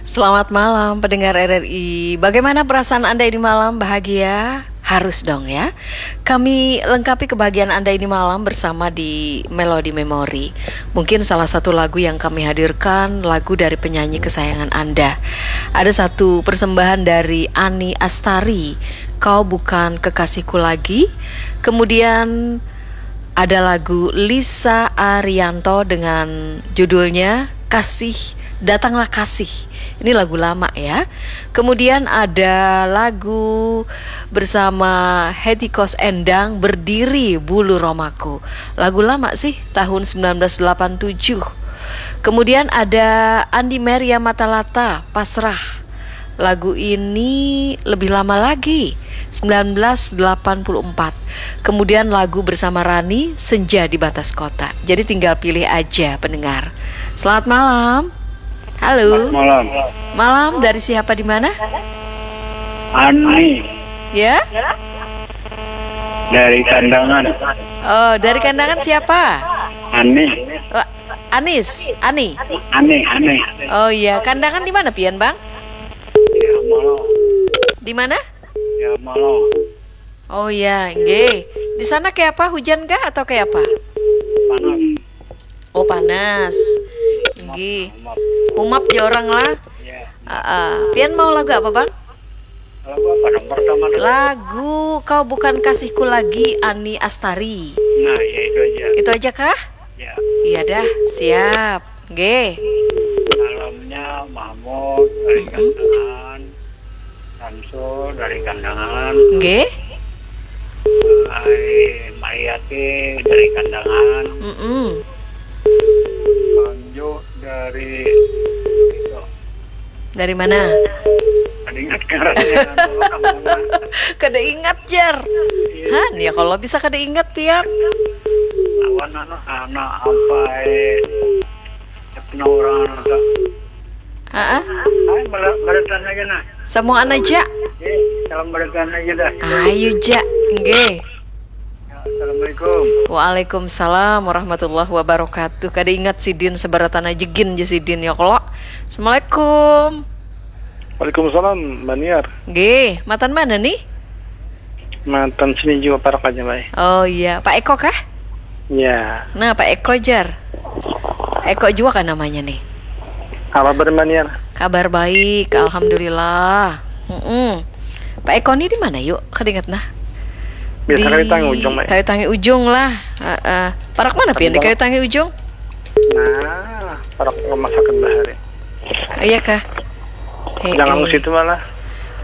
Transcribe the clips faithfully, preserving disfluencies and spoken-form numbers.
Selamat malam pendengar R R I. Bagaimana perasaan Anda ini malam? Bahagia? Harus dong ya. Kami lengkapi kebahagiaan Anda ini malam bersama di Melody Memory. Mungkin salah satu lagu yang kami hadirkan, lagu dari penyanyi kesayangan Anda. Ada satu persembahan dari Ani Astari, Kau Bukan Kekasihku Lagi. Kemudian ada lagu Lisa Arianto dengan judulnya Kasih, Datanglah Kasih. Ini lagu lama ya. Kemudian ada lagu bersama Hetty Koes Endang, Berdiri Bulu Romaku. Lagu lama sih, tahun sembilan belas delapan tujuh. Kemudian ada Andi Meria Matalata, Pasrah. Lagu ini lebih lama lagi, sembilan belas delapan puluh empat. Kemudian lagu bersama Rani, Senja di Batas Kota. Jadi tinggal pilih aja pendengar. Selamat malam. Halo. Malam. Malam, dari siapa, di mana? Ani Ya? Dari Kandangan. Oh, dari Kandangan siapa? Ani. Oh, Anis, Ani. Ani, Ani. Oh iya, Kandangan di mana pian, Bang? Ya malam. Di mana? Ya malam. Oh iya, nggih. Di sana kayak apa? Hujan kah atau kayak apa? Panas. Oh, panas. Nggih. Maaf. Humap ya orang lah. Ya. Ah, ah. Pian mau lagu apa, Bang? Lagu apa dong pertama dulu? Lagu Kau Bukan Kasihku Lagi, Ani Astari. Nah, ya itu aja. Itu aja kah? Ya. Iya dah, siap. Nggih. Malamnya Mahmud dari Mm-mm. Kandangan. Samsul dari Kandangan. Nggih. Ai Mayati dari Kandangan. Mm-mm. Manju dari itu. Dari mana? Kada ingat ngarannya anu kampungnya. Kada ingat, jar. Han, ya kalau bisa kada ingat, pian. Lawan anu anak apa eh. Pernah orang anu tak. Heeh. Ai bala- balasan aja nah. Samuaan aja. Eh, salam balasan aja dah. Ayo ja. Nggih. Ya, Assalamualaikum. Waalaikumsalam warahmatullahi wabarakatuh. Kada ingat sidin, sebaratan aja gin ja sidin ya kalo. Assalamualaikum. Waalaikumsalam, Mbak Niar. Nggih, matan mana nih? Matan sini juga parak aja, Mbak. Oh iya, Pak Eko kah? Ya, Nah, Pak Eko jar. Eko juga kan namanya nih. apa kabar, Mbak Niar? Kabar baik, alhamdulillah. Mm-mm. Pak Eko nih di mana yuk? Kada ingat nah. Biasa kali Tangi Ujung, Mbak. Kayu Tangi Ujung lah. Heeh. Parak mana pian di Kayu Tangi Ujung? Nah, parak rumah sakit bahari. Iya kah? Eh, Jangan eh. Ke situ malah.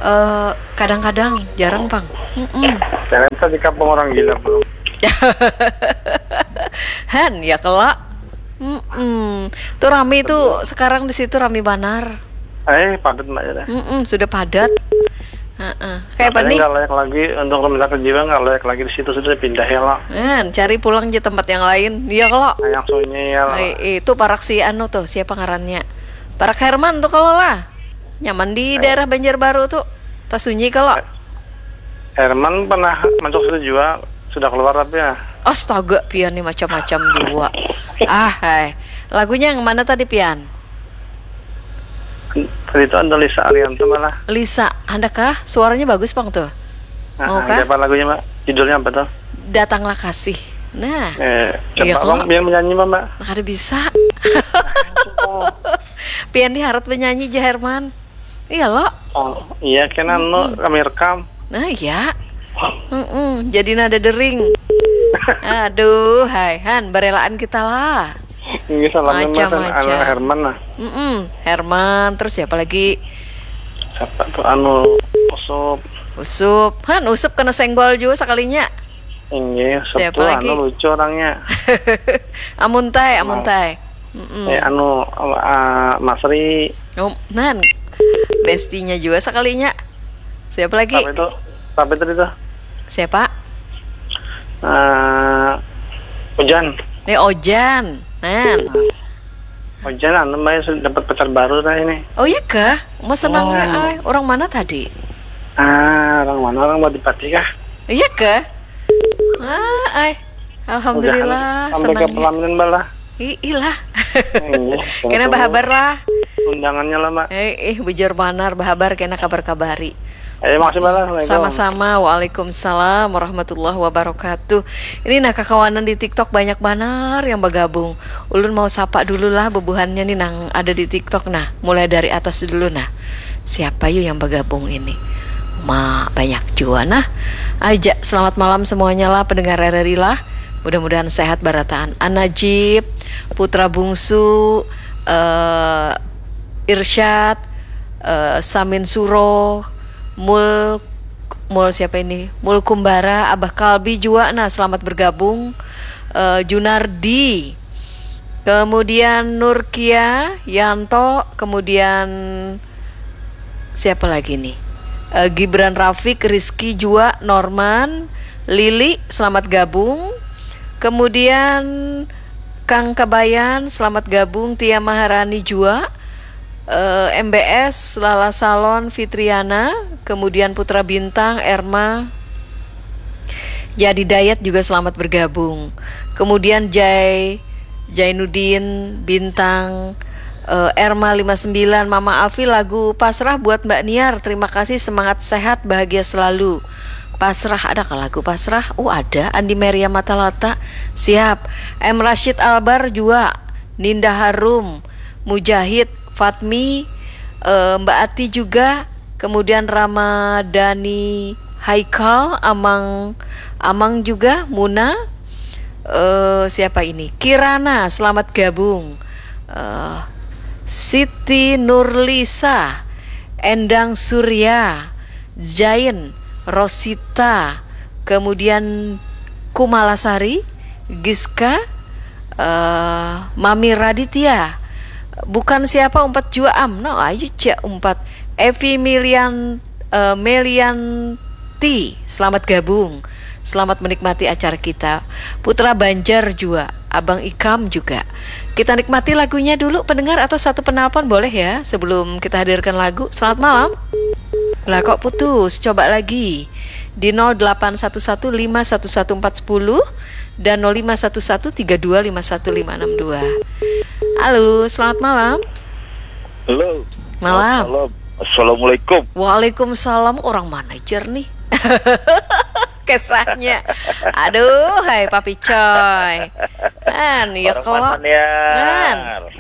Eh, kadang-kadang, jarang pang. Mm-mm. Jangan tadi kampung orang gila belum. Han, ya kela. Mm-mm. Tuh rame tuh sekarang di situ, rame banar. Eh, padat, Mbak, ya dah. Mm-mm, sudah padat. Heeh. Kayak apa Makanya nih? Nggak layak lagi untuk rumah sakit jiwa, nggak layak lagi di situ, sudah pindah ya lah. Han, cari pulang aja tempat yang lain. Iya kelo. Yang sunyi ya lah. Eh, itu parak si anu tuh, siapa ngarannya? Parak Herman tuh kalau lah. Nyaman di daerah Banjarbaru tuh. Tasunyi kalau. Herman pernah masuk situ juga, sudah keluar tapi ya. Astaga, pian nih macam-macam juga. Ah, hai. Lagunya yang mana tadi, pian? Tadi itu ada Lisa Arianto malah. Lisa, handak kah? Suaranya bagus pang tuh. Nah, Mau kah? Siapa lagunya, Mbak? Judulnya apa tuh? Datanglah Kasih. Nah, Eh, Iya, coba kalau- abang biar menyanyi, Mbak. kada bisa. Pian diharat penyanyi ja, Herman. Iya lo. Oh, iya, kena anu kami rekam. Nah, iya. Mm-mm, jadi nada dering. Aduh, hai Han, berelaan kita lah. Ini salamnya Mas, Macam-macam. Anu Herman lah. Mm-mm, Herman, terus siapa lagi? Siapa tuh anu Usup? Usup. Han, Usup kena senggol juga sekalinya. Ini Siapa Usup tuh lagi? Anu lucu orangnya. Amuntai, Amuntai. Mm-mm. Eh, anu ah, Masri. Oh, nan. Bestinya juga sekalinya. Siapa lagi? Siapa itu? Siapa itu itu? Siapa? Eh, Hujan. Nih Ojan. Nan. Hujan anu Mbak sudah dapat pacar baru dah ini. Oh iya kah? Mau senangnya Oh. Ai. Orang mana tadi? Ah, orang mana, orang Madipati kah? Iya kah? Ah, ai. Alhamdulillah, Sampai ke senangnya. pelaminan Mbak lah. Ih, ilah. Iya, Kena betul. bahabar lah. undangannya lah, Mak. Eh, eh, bujur banar, bahabar kena kabar-kabari. Eh, makasih banyak. Assalamualaikum. Sama-sama. Waalaikumsalam warahmatullahi wabarakatuh. Ini nah, kakawanan di TikTok banyak banar yang bagabung. Ulun mau sapa dulu lah bubuhannya nih nang ada di TikTok nah. Mulai dari atas dulu nah. Siapa yuk yang bagabung ini? Ma, banyak jua nah. Aja, selamat malam semuanya lah pendengar RRI lah. Mudah-mudahan sehat barataan. An Najib, Putra Bungsu, eh, Irsyad, eh, Samin Suro, Mul Mul siapa ini? Mul Kumbara, Abah Kalbi jua nah, selamat bergabung. Eh, Junardi. Kemudian Nurkia, Yanto, kemudian siapa lagi nih? Eh, Gibran Rafiq, Rizky jua, Norman, Lili, selamat gabung. Kemudian Kang Kabayan, selamat gabung. Tia Maharani jua. Eh, M B S, Lala Salon, Fitriana, kemudian Putra Bintang, Erma, Jadi Dayat juga selamat bergabung. Kemudian Jai, Jainuddin, Bintang, eh, Erma lima sembilan, Mama Afi, lagu Pasrah buat Mbak Niar. Terima kasih, semangat, sehat, bahagia selalu. Pasrah, adakah lagu Pasrah? Oh, ada. Andi Meria Matalata. Siap. M Rashid Albar jua. Ninda Harum, Mujahid, Fatmi, eh, Mbak Ati juga, kemudian Ramadhani Haikal, Amang, Amang juga, Muna, eh, siapa ini? Kirana, selamat gabung. Eh, Siti Nurlisa, Endang Surya, Zain, Rosita, kemudian Kumala Sari, Giska, eh, Mami Raditya. Bukan siapa umpat jua am. No, ayu cak umpat. Evi Milian, eh, Melianti, selamat gabung. Selamat menikmati acara kita. Putra Banjar jua, Abang Ikam juga. Kita nikmati lagunya dulu, pendengar, atau satu penelpon boleh ya, sebelum kita hadirkan lagu. Selamat malam. Lah, kok putus? Coba lagi. Di nol delapan satu satu lima satu satu empat sepuluh dan nol lima satu satu tiga dua lima satu lima enam dua. Halo, selamat malam. Halo. Malam. Malam. Assalamualaikum. Waalaikumsalam. Orang mana jar nih? Kesahnya. Aduh, hai Papi Coy. An, ya Orang kalau mana, Niar? An,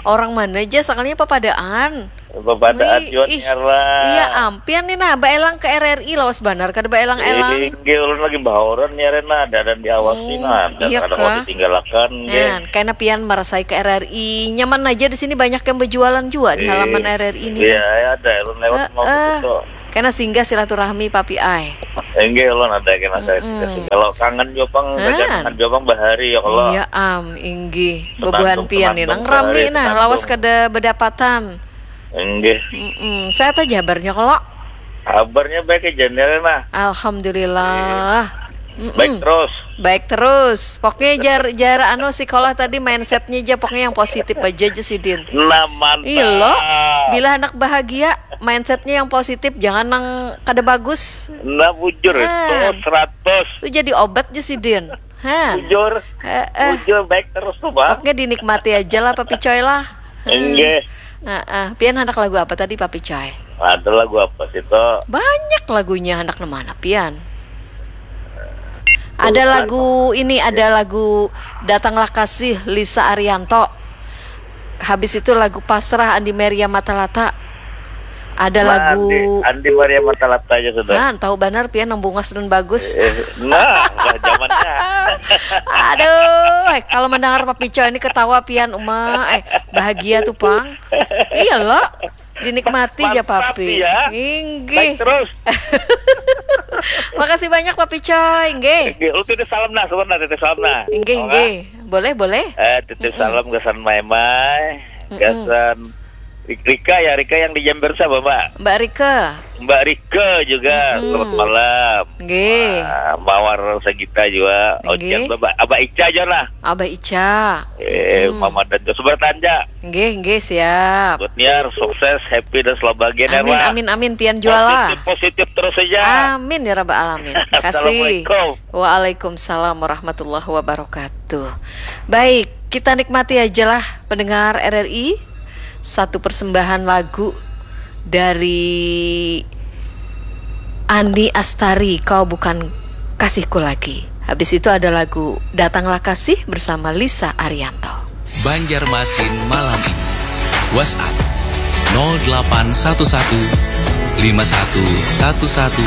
orang mana aja, sakalinya papadaan. Papadaan Ih, jua, ih. Niar lah. Iya, ampian nih nah, baelang ke RRI lawas banar, kada baelang-elang. Inggih, ulun lagi bahoran, Niar, nah, ada, ada diawasi, Hmm, nah, ada, iya ada kah? Ditinggalkan, nggih. Nah, kena pian marasai ke RRI, nyaman aja di sini, banyak yang berjualan juga di halaman RRI ini. Iya, Nah. ya, ada, ulun lewat mau Heeh. begitu. Kena singgah silaturahmi, Papi ai. Inggih, ulun ada kena saya Mm-mm. Kalau kangen juga, Bang, Nah. kangen juga, Bang, bahari ya, kalau. Iya am, inggih. Senandung, Bebuhan pian nih, senandung nang rami bahari, nah, senandung. Lawas kada bedapatan. Inggih. Mm-mm. Sehat aja kabarnya kalau. Kabarnya baik aja, Niar, nah. Alhamdulillah. Mm-mm. Baik terus. Baik terus. Pokoknya jar jar anu, sekolah tadi mindsetnya aja, pokoknya yang positif aja aja sidin. Nah, mantap. Iya lo. Bila anak bahagia, mindsetnya yang positif, jangan nang kada bagus. Nah, bujur Ah. itu seratus. Itu jadi obat aja sidin. Han. Bujur. Heeh. Bujur baik terus tuh, Bang. Pokoknya dinikmati aja lah, Papi Coy lah. Hmm. Inggih. Heeh. Pian handak lagu apa tadi, Papi Coy? Ada lagu apa sih tuh? Banyak lagunya, handak nang mana pian? Ada Tuh, lagu ini, ada lagu Datanglah Kasih, Lisa Arianto. Habis itu lagu Pasrah, Andi Meria Matalata. Ada Nah, lagu Andi, Andi Maria Matalata aja sudah. Nah, tahu banar pian nang bungas dan bagus. Eh, nah, lah zamannya. Aduh, eh, kalau mendengar Papi Coy ini ketawa pian, Uma, eh, bahagia tuh, Pang. Iya lo, dinikmati aja, Mantap, Papi. Ya. Inggih. Baik terus. Makasih banyak, Papi Coy, inggih. Inggih, lu titip salam nah, sebentar titip salam nah. Inggih, Apa? Inggih. Boleh, boleh. Eh, titip salam gasan Maimai, Mm-mm. gasan Rik- Rika ya, Rika yang di Jember siapa, Mbak? Mbak Rika. Mbak Rika juga, Mm-mm. Selamat malam. Nggih. Ah, Mawar Sagita juga, Nggih. Ojan, Mbak, Abah Ica aja lah. Abah Ica. Eh, Mm-mm. Mama dan Joshua bertanja. Nggih, nggih, siap. Buat Niar, sukses, happy dan selalu bahagia, Niar, Amin, lah. Amin, amin, pian jual lah. Positif, positif terus saja. Amin ya rabbal alamin. Makasih. Assalamualaikum. Waalaikumsalam warahmatullahi wabarakatuh. Baik, kita nikmati aja lah pendengar RRI. satu persembahan lagu dari Ani Astari, Kau Bukan Kasihku Lagi. Habis itu ada lagu Datanglah Kasih bersama Lisa Arianto. Banjarmasin malam ini. WhatsApp nol delapan satu satu lima satu satu satu